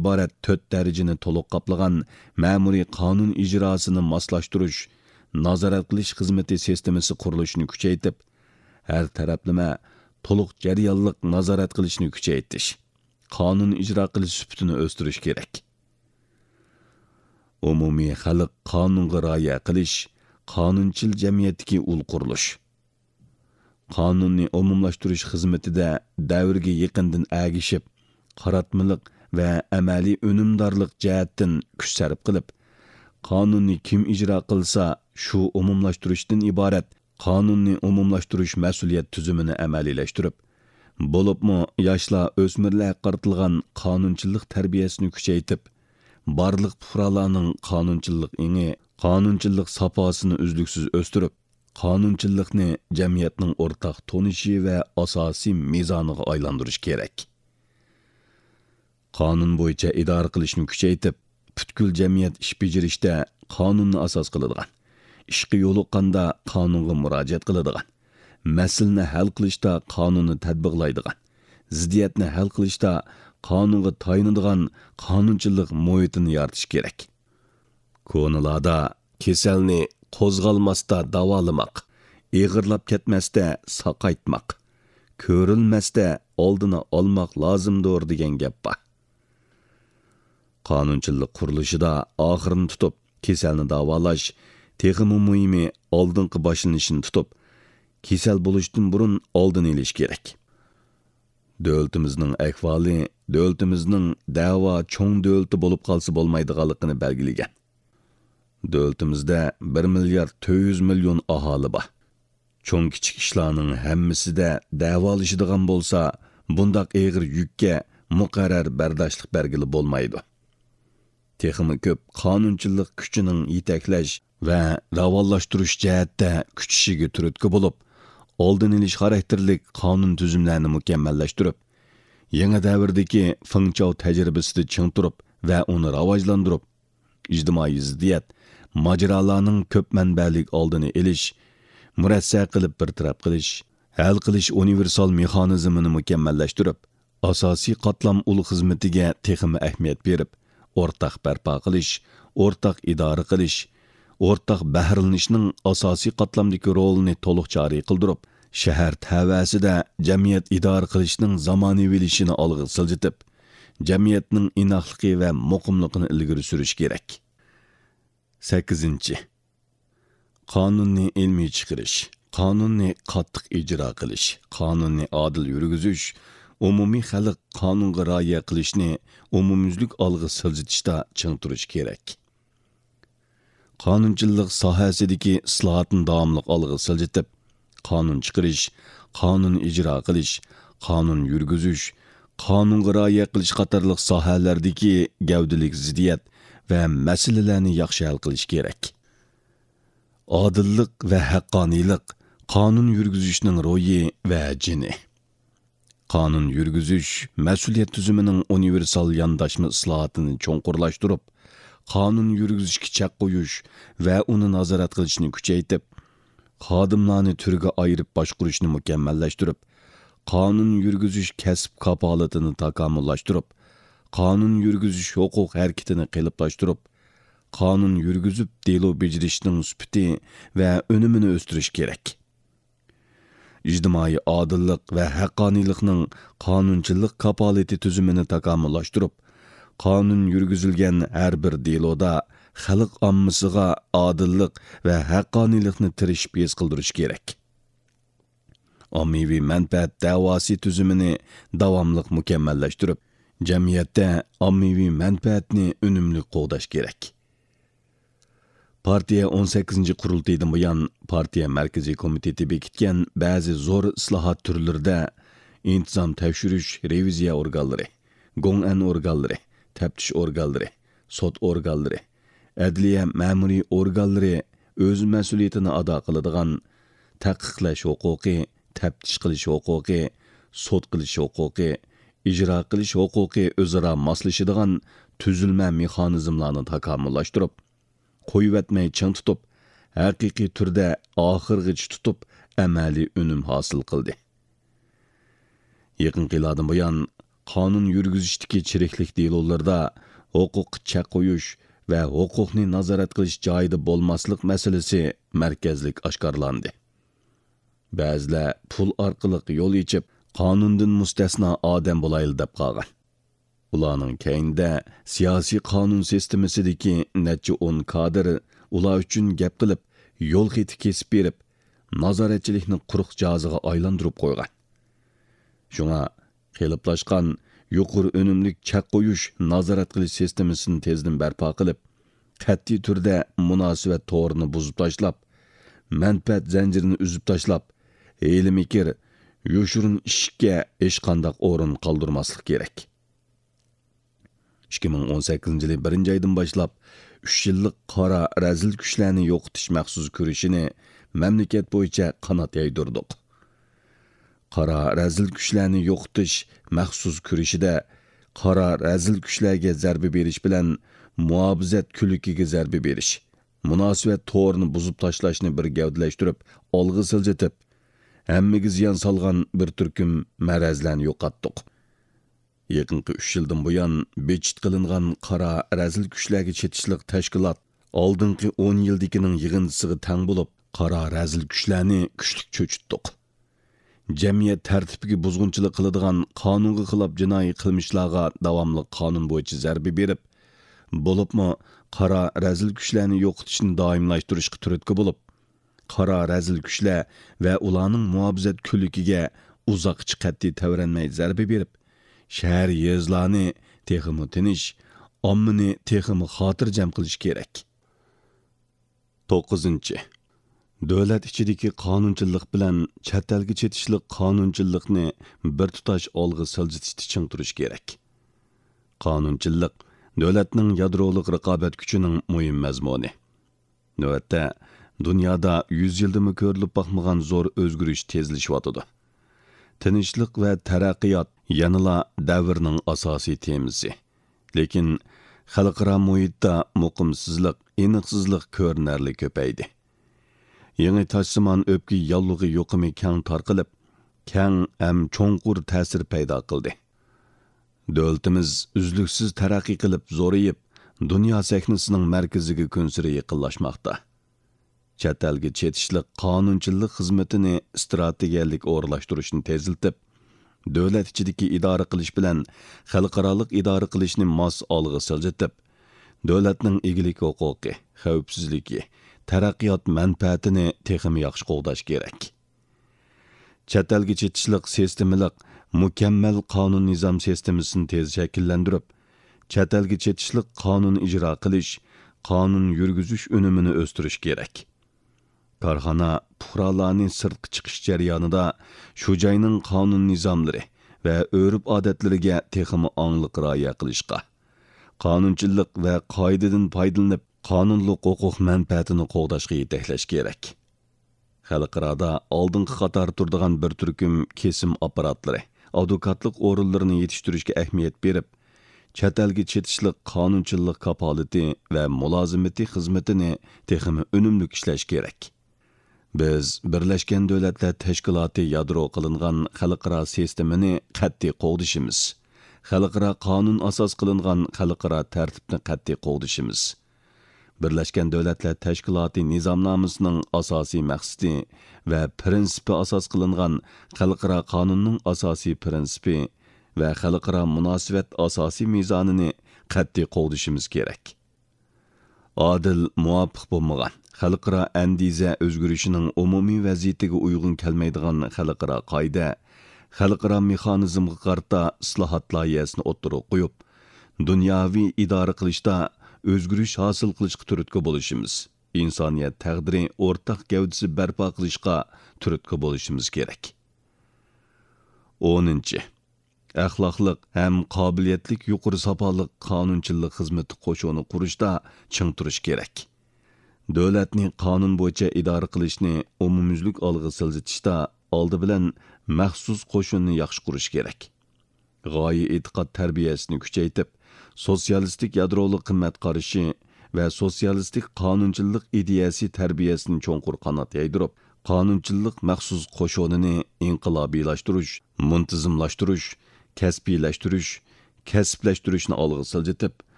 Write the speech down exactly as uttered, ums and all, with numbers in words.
ئىبارەت تۆت دەرىجىنى تولۇق قاپلىغان مەمۇرىي قانۇن ئىجراسىنى ماسلاشتۇرۇش، نازارەت قىلىش خىزمىتى سىستېمىسى قۇرۇلۇشىنى كۈچەيتىپ، ھەر تەرەپلىمە، تولۇق جەريانلىق نازارەت قىلىشنى كۈچەيتىش، قانۇن ئىجرا قىلىش سۈپىتىنى ئۆستۈرۈش كېرەك. ئومۇمىي خەلق قانۇنغا رىئايە قىلىش، قانۇنچىل جەمئىيەتتىكى ئۇل قۇرۇلۇش. قانۇننى ئومۇملاشتۇرۇش خىزمىتىدە دەۋرگە يېقىندىن ئەگىشىپ، قاراتمىلىق ۋە ئەمەلىي ئۈنۈمدارلىق جەھەتتىن كۈچ سەرپ قىلىپ، قانۇننى كىم ئىجرا قىلسا، شۇ ئومۇملاشتۇرۇشتىن ئىبارەت قانۇننى ئومۇملاشتۇرۇش مەسئۇلىيەت تۈزۈمىنى ئەمەلىيلەشتۈرۈپ، بولۇپمۇ ياشلار، ئۆسمۈرلەرگە قارىتىلغان قانۇنچىللىق تەربىيەسىنى كۈچەيتىپ، بارلىق پۇقرالارنىڭ قانۇنچىللىق ئېڭى، قانۇنچىللىق ساپاسىنى ئۈزلۈكسىز ئۆستۈرۈپ، قانۇنچىللىقنى جەمئىيەتنىڭ ئورتاق تونۇشى ۋە ئاساسىي مىزانىغا ئايلاندۇرۇش كېرەك. قانۇن بويىچە ئىدارە قىلىشنى كۈچەيتىپ، پۈتكۈل جەمئىيەت ئىش بېجىرىشتە قانۇننى ئاساس قىلىدىغان، ئىشقا يولۇققاندا قانۇنغا مۇراجىئەت قىلىدىغان، مەسىلىنى ھەل قىلىشتا قانۇننى تەتبىقلايدىغان، زىددىيەتنى ھەل قىلىشتا قانۇنغا تايىنىدىغان قانۇنچىلىق مۇھىتىنى يارىتىش كېرەك. كونىلاردا «كېسەلنى قوزغالماستا داۋالىماق، ئېغىرلاپ كەتمەستە ساقايتماق، كۆرۈلمەستە ئالدىنى ئالماق لازىمدۇر» دېگەن گەپ بار. قانۇنچىلىق قۇرۇلۇشىدا ئاخىرىنى تۇتۇپ، كېسەلنى داۋالاش، تېخىمۇ مۇھىمى، ئالدىنقى باشلىنىشىنى تۇتۇپ، كېسەل بولۇشتىن بۇرۇن ئالدىنى ئېلىش كېرەك. دۆلىتىمىزنىڭ ئەھۋالى دۆلىتىمىزنىڭ دەۋا چوڭ دۆلىتى بولۇپ قالسا بولمايدىغانلىقىنى بەلگىلىگەن. دۆلىتىمىزدە بىر مىليارد تۆت يۈز مىليون ئاھالى بار. چوڭ-كىچىك ئىشلارنىڭ ھەممىسىدە دەۋالىشىدىغان بولسا، بۇنداق ئېغىر يۈككە مۇقەررەر بەرداشلىق بەرگىلى بولمايدۇ. تېخىمۇ كۆپ قانۇنچىلىق كۈچىنىڭ يېتەكلەش ۋە راۋانلاشتۇرۇش جەھەتتە كۈچىشىگە تۈرتكە بولۇپ، ئالدىنى ئېلىش خاراكتېرلىك قانۇن تۈزۈملەرنى مۇكەممەللەشتۈرۈپ، يېڭى دەۋردىكى فېڭچاۋ تەجرىبىسىدە چىڭ تۇرۇپ ۋە ئۇنى راۋاجلاندۇرۇپ، ئىجتىمائىي زىددىيەت، ماجىرالارنىڭ كۆپ مەنبەلىك ئالدىنى ئېلىش، مۇرەسسە قىلىپ بىر تەرەپ قىلىش، ھەل قىلىش ئۇنىۋېرسال مېخانىزمىنى مۇكەممەللەشتۈرۈپ، ئاساسىي قاتلام ئۇل خىزمىتىگە تېخىمۇ ئەھمىيەت بېرىپ، ئورتاق بەرپا قىلىش، ئورتاق ئىدارە قىلىش، ئورتاق بەھرىلىنىشنىڭ ئاساسىي قاتلامدىكى رولىنى تولۇق جارى قىلدۇرۇپ، شەھەر تەۋەسىدە جەمئىيەت ئىدارە قىلىشنىڭ زامانىۋىلىشىشىنى ئالغا سىلجىتىپ، جەمئىيەتنىڭ ئىناقلىقى ۋە مۇقىملىقىنى ئىلگىرى سۈرۈش كېرەك. سەككىزىنچى، قانۇننى ئىلمىي چىقىرىش، قانۇننى قاتتىق ئىجرا قىلىش، قانۇننى ئادىل يۈرگۈزۈش، ئومۇمىي خەلق قانۇنغا رىئايە قىلىشنى ئومۇميۈزلۈك ئالغا سىلجىتىشتا چىڭ تۇرۇش كېرەك. قانۇنچىلىق ساھەسىدىكى ئىسلاھاتنى داۋاملىق ئالغا سىلجىتىپ، قانۇن چىقىرىش، قانۇن ئىجرا قىلىش، قانۇن يۈرگۈزۈش، قانۇنغا رىئايە قىلىش قاتارلىق ساھەلەردىكى گەۋدىلىك زىددىيەت ۋە مەسىلىلەرنى ياخشى ھەل قىلىش كېرەك. ئادىللىق ۋە ھەققانىيلىق قانۇن يۈرگۈزۈشنىڭ روھى ۋە جېنى. قانۇن يۈرگۈزۈش مەسئۇلىيەت تۈزۈمىنىڭ ئۇنىۋېرسال يانداشما ئىسلاھاتىنى چوڭقۇرلاشتۇرۇپ، قانۇن يۈرگۈزۈشكە چەك قويۇش ۋە ئۇنى نازارەت قىلىشنى كۈچەيتىپ، خادىملارنى تۈرگە ئايرىپ باشقۇرۇشنى مۇكەممەللەشتۈرۈپ، قانۇن يۈرگۈزۈش كەسىپ كاپالىتىنى تاكامۇللاشتۇرۇپ، قانۇن يۈرگۈزۈش ھوقۇق ھەرىكىتىنى قېلىپلاشتۇرۇپ، قانۇن يۈرگۈزۈپ دېلو بېجىرىشنىڭ سۈپىتى ۋە ئۈنۈمىنى ئۆستۈرۈش كېرەك. ئىجتىمائىي ئادىللىق ۋە ھەققانىيلىقنىڭ قانۇنچىلىق كاپالىتى تۈزۈمىنى تاكامۇللاشتۇرۇپ، قانۇن يۈرگۈزۈلگەن ھەر بىر دېلودا خەلق ئاممىسىغا ئادىللىق ۋە ھەققانىيلىقنى تىرىشىپ ھېس قىلدۇرۇش كېرەك. ئاممىۋى مەنپەئەت دەۋاسى تۈزۈمىنى داۋاملىق مۇكەممەللەشتۈرۈپ، جەمئىيەتتە ئاممىۋى مەنپەئەتنى ئۈنۈملۈك قوغداش كېرەك. پارتىيە ئون سەككىزىنچى قۇرۇلتىيىدىن بۇيان، پارتىيە مەركىزىي كومىتېتى بېكىتكەن بەزى زور ئىسلاھات تۈرلىرىدە ئىنتىزام تەكشۈرۈش، رېۋىزىيە ئورگانلىرى، گوڭئەن ئورگانلىرى، تەپتىش ئورگانلىرى، سوت ئورگانلىرى، ئەدلىيە مەمۇرىي ئورگانلىرى ئۆز مەسئۇلىيىتىنى ئادا قىلىدىغان، تەھقىقلەش ھوقۇقى، تەپتىش قىلىش ھوقۇقى، سوت قىلىش ھوقۇقى، ئىجرا قىلىش ھوقۇقى ئۆزئارا ماسلىشىدىغان تۈزۈلمە مېخانىزملارنى تاكامۇللاشتۇرۇپ، قويۇۋەتمەي چىڭ تۇتۇپ، ھەقىقىي تۈردە ئاخىرغىچە تۇتۇپ، ئەمەلىي ئۈنۈم ھاسىل قىلدى. يېقىنقى يىللاردىن بۇيان، قانۇن يۈرگۈزۈشتىكى چىرىكلىك دېلولىرىدا ھوقۇققا چەك قويۇش ۋە ھوقۇقنى نازارەت قىلىش جايىدا بولماسلىق مەسىلىسى مەركەزلىك ئاشكارىلاندى. بەزىلەر پۇل ئارقىلىق يول ئېچىپ، قانۇندىن مۇستەسنا ئادەم بولايلى دەپ قالغان. ئۇلارنىڭ كەينىدە سىياسىي قانۇن سىستېمىسىدىكى نەچچە ئون كادىر ئۇلار ئۈچۈن گەپ قىلىپ، يول خېتى كېسىپ بېرىپ، نازارەتچىلىكنى قۇرۇق جازىغا ئايلاندۇرۇپ قويغان. شۇڭا قېلىپلاشقان يۇقىرى ئۈنۈملۈك چەك قويۇش، نازارەت قىلىش سىستېمىسىنى تېزدىن بەرپا قىلىپ، قەتئىي تۈردە مۇناسىۋەت تورىنى بۇزۇپ تاشلاپ، مەنپەئەت زەنجىرىنى ئۈزۈپ تاشلاپ، ھىيلە-مىكىر، يوشۇرۇن ئىشىككە ھېچقانداق ئورۇن قالدۇرماسلىق كېرەك. ئىككى مىڭ ئون سەككىزىنچى يىلى بىرىنچى ئايدىن باشلاپ، ئۈچ يىللىق قارا رەزىل كۈچلەرنى يوقىتىش مەخسۇس كۈرىشىنى مەملىكەت بويىچە قانات يايدۇردۇق. قارا رەزىل كۈچلەرنى يوقىتىش مەخسۇس كۈرىشىدە قارا رەزىل كۈچلەرگە زەربە بېرىش بىلەن مۇھاپىزەت كۈلۈكىگە زەربە بېرىش، مۇناسىۋەت تورىنى بۇزۇپ تاشلاشنى بىر گەۋدىلەشتۈرۈپ، ئالغا سىلجىتىپ، ھەممىگە زىيان سالغان بىر تۈركۈم مەرەزلەرنى يوقاتتۇق. يېقىنقى ئۈچ يىلدىن بۇيان بىچىت قىلىنغان قارا رەزىل كۈچلەرگە چېتىشلىق تەشكىلات ئالدىنقى ئون يىلدىكىنىڭ يىغىندىسىغا تەڭ بولۇپ، قارا رەزىل كۈچلەرنى كۈچلۈك چۆچۈتتۇق. جەمئىيەت تەرتىپىگە بۇزغۇنچىلىق قىلىدىغان، قانۇنغا خىلاپ جىنايى قىلمىشلارغا داۋاملىق قانۇن بويىچە زەربە بېرىپ، بولۇپمۇ قارا رەزىل كۈچلەرنى يوقىتىشنى دائىملاشتۇرۇشقا تۈرتكە بولۇپ، قارا رەزىل كۈچلەر ۋە ئۇلارنىڭ مۇھاپىزەت كۈلۈكىگە ئۇزاققىچە قەتئىي تەۋرەنمەي زەربە بېرىپ، شەھەر، يېزىلارنى تېخىمۇ تىنچ، ئاممىنى تېخىمۇ خاتىرجەم قىلىش كېرەك. توققۇزىنچى، دۆلەت ئىچىدىكى قانۇنچىللىق بىلەن چەت ئەلگە چېتىشلىق قانۇنچىللىقنى بىر تۇتاش ئالغا سىلجىتىشتا چىڭ تۇرۇش كېرەك. قانۇنچىللىق دۆلەتنىڭ يادرولۇق رىقابەت كۈچىنىڭ مۇھىم مەزمۇنى. نۆۋەتتە، دۇنيادا يۈز يىلدىمۇ كۆرۈلۈپ باقمىغان زور ئۆزگىرىش تېزلىشىۋاتىدۇ. تىنچلىق ۋە تەرەققىيات يەنىلا دەۋرنىڭ ئاساسىي تېمىسى. لېكىن، خەلقئارا مۇھىتتا مۇقىمسىزلىق، ئېنىقسىزلىق كۆرۈنەرلىك كۆپەيدى. يېڭى تاشسىمان ئۆپكە ياللۇغى يۇقۇمى كەڭ تارقىلىپ، كەڭ ھەم چوڭقۇر تەسىر پەيدا قىلدى. دۆلىتىمىز ئۈزلۈكسىز تەرەققىي قىلىپ زورىيىپ، دۇنيا سەھنىسىنىڭ مەركىزىگە كۈنسېرى يېقىنلاشماقتا. چەت ئەلگە چېتىشلىق قانۇنچىلىق خىزمىتىنى ئىستراتېگىيەلىك ئورۇنلاشتۇرۇشنى تېزلىتىپ، دۆلەت ئىچىدىكى ئىدارە قىلىش بىلەن خەلقئارالىق ئىدارە قىلىشنى ماس ئالغا سىلجىتىپ، دۆلەتنىڭ ئىگىلىك ھوقۇقى، خەۋپسىزلىكى، تەرەققىيات مەنپەئەتىنى تېخىمۇ ياخشى قوغداش كېرەك. چەت ئەلگە چېتىشلىق سىستېمىلىق، مۇكەممەل قانۇن نىزام سىستېمىسىنى تېز شەكىللەندۈرۈپ، چەت ئەلگە چېتىشلىق قانۇن ئىجرا قىلىش، قانۇن يۈرگۈزۈش ئۈنۈمىنى ئۆستۈرۈش كېرەك. كارخانا، پۇقرالارنى سىرتقا چىقىش جەريانىدا شۇ جاينىڭ قانۇن نىزاملىرى ۋە ئۆرپ-ئادەتلىرىگە تېخىمۇ ئاڭلىق رىئايە قىلىشقا، قانۇنچىللىق ۋە قائىدىدىن پايدىلىنىپ، قانۇنلۇق ھوقۇق مەنپەئەتىنى قوغداشقا يېتەكلەش كېرەك. خەلقئارادا ئالدىنقى قاتاردا تۇرىدىغان بىر تۈركۈم كېسىم ئاپپاراتلىرى، ئادۋوكاتلىق ئورۇنلىرىنى يېتىشتۈرۈشكە ئەھمىيەت بېرىپ، چەت ئەلگە چېتىشلىق قانۇنچىلىق كاپالىتى ۋە مۇلازىمىتى خىزمىتىنى تېخىمۇ ئۈنۈملۈك ئىشلەش كېرەك. بىز بىرلەشكەن دۆلەتلەر تەشكىلاتى يادرو قىلىنغان خەلقئارا سىستېمىنى قەتئىي قوغدىشىمىز. خەلقئارا قانۇن ئاساس قىلىنغان خەلقئارا تەرتىپنى قەتئىي قوغدىشىمىز. بىرلەشكەن دۆلەتلەر تەشكىلاتى نىزامنامىسىنىڭ ئاساسىي مەقسىتى ۋە پىرىنسىپى ئاساس قىلىنغان خەلقئارا قانۇننىڭ ئاساسىي پىرىنسىپى ۋە خەلقئارا مۇناسىۋەت ئاساسىي مىزانىنى قەتئىي قوغدىشىمىز كېرەك. ئادىل، مۇۋاپىق بولمىغان، خەلقئارا ئەندىزە ئۆزگىرىشىنىڭ ئومۇمىي ۋەزىيىتىگە ئۇيغۇن كەلمەيدىغان خەلقئارا قائىدە، خەلقئارا مېخانىزمغا قارىتا ئىسلاھات لايىھەسىنى ئوتتۇرىغا قويۇپ، دۇنياۋى ئىدارە قىلىشتا ئۆزگىرىش ھاسىل قىلىشقا تۈرتكە بولۇشىمىز، ئىنسانىيەت تەقدىرى ئورتاق گەۋدىسى بەرپا قىلىشقا تۈرتكە بولۇشىمىز كېرەك. ئونىنچى، ئەخلاقلىق ھەم قابىلىيەتلىك يۇقىرى ساپالىق قانۇنچىلىق خىزمىتى قوشۇنى قۇرۇشتا چىڭ تۇرۇش كېرەك. دۆلەتنى قانۇن بويىچە ئىدارە قىلىشنى ئومۇميۈزلۈك ئالغا سىلجىتىشتا ئالدى بىلەن مەخسۇس قوشۇننى ياخشى قۇرۇش كېرەك. غايە ئېتىقاد تەربىيەسىنى كۈچەيتىپ، سوتسىيالىستىك يادرولۇق قىممەت قارىشى ۋە سوتسىيالىستىك قانۇنچىللىق ئىدىيەسى تەربىيەسىنى چوڭقۇر قانات يايدۇرۇپ، قانۇنچىللىق مەخسۇس قوشۇنىنى ئىنقىلابىيلاشتۇرۇش، مۇنتىزىملاشتۇرۇش، كەسپىيلەشتۈرۈش، كەسىپلەشتۈرۈشنى ئالغا سىلجىتىپ،